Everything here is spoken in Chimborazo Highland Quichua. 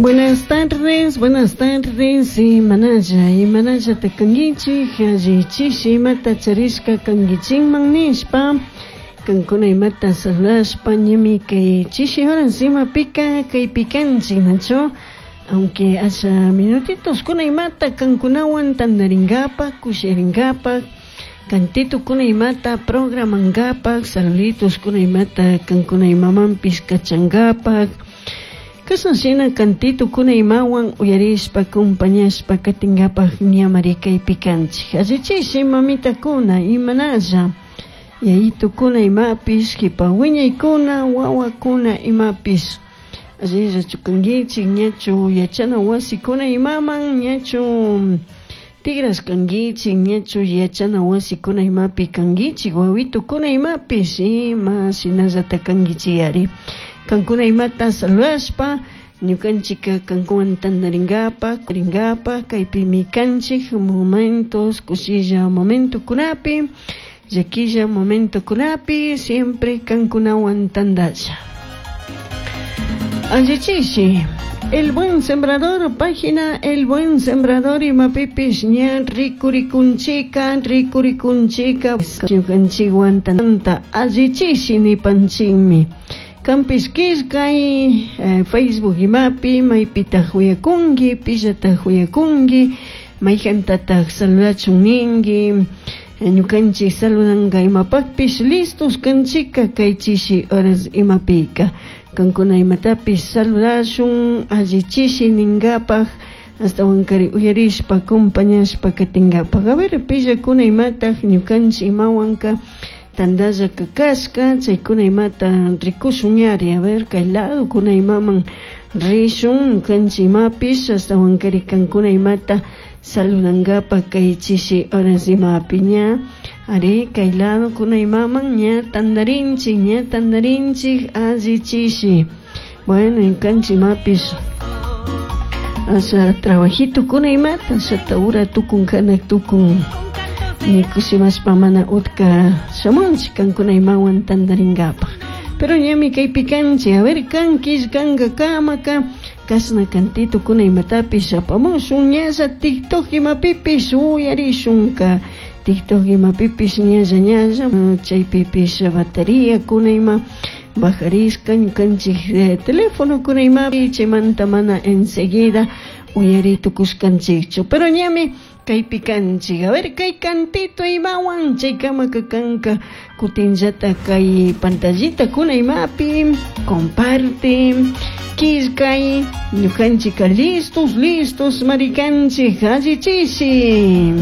Buenas tardes, buenas tardes, imanalla, imanallata kankichik, allichishi imata charishka kankichikman nishpa, kankuna imata saludashpa ñami kay chishi horas imapika kaypi kanchik, nachu? Aunque asha minutitos kuna imata kankunawan tandarinkapak, kushirinkapak, cantito kuna imata programankapak, saluditos kuna imata kankuna imamanpish kachankapak, Kashan shina cantito kuna imawan uyarishpa acompañashpa katinkapak ñamari kaypi kanchik. Allichishi mamitakuna imanalla yayitukuna imapish kipa wiñaykuna wawakuna imapish allillachu kankichik ñachu yachana wasikuna imaman ñachu tigrashkankichik ñachu yachana wasikuna imapi kankichik wawitukuna imapish ima shinallata kankichik kankuna imata saludashpa ñukanchika kankuwan tandarinkapak rinkapak kaypimi kanchik momentos kushilla momentokunapi llakilla momentokunapi siempre kankunawan tandalla. Allichishi El Buen Sembrador, página El Buen Sembrador imapipish ña rikurikunchika rikurikunchika ñukanchikwan tanta allichishi nipanchikmi. Kanpish killkay Facebook imapi maypitaq uyakunki pillataq uyakunki mayjantataq saludachun ninki ñukanchik saludanka imapakpish listos kanchika kay chishi horas imapika kankuna imatapish saludashun allichishi ninkapak astawankari uyarishpa acompañashpa katinkapak. A ver pillakuna imataq ñukanchik imawanka tandalla kashka chaykuna imata rikushun ñari. A ver kay lado kuna imaman rishun ñukanchik imapish astawankari kankuna imata saludankapak kay chishi horas imapi ña ari kay lado kuna imaman ña tandarinchik ña tandarinchik allichishi. Bueno, ñukanchik imapish asha trabajito kuna imata ashata ura tukun kanak tukun nikushimashpa mana utka shamunchik kankuna imawan tandarinkapak. Pero ñami kaypi kanchik, a ver kan killkanka kamaka kashna cantito kuna imatapish apamushun ñalla TikTok imapipish uyarishunka TikTok imapipish ñalla ñalla chaypipish batería kuna ima bajarishka ñukanchik teléfono kuna imapi chaymanta mana enseguida uyari tukushkanchikchu. Pero ñami kaypi kanchik, a ver kay cantito imawan chaykamaka kanka kutinllata kay pantallita kuna imapi comparte killkay ñukanchika listos listos marikanchik allichishi.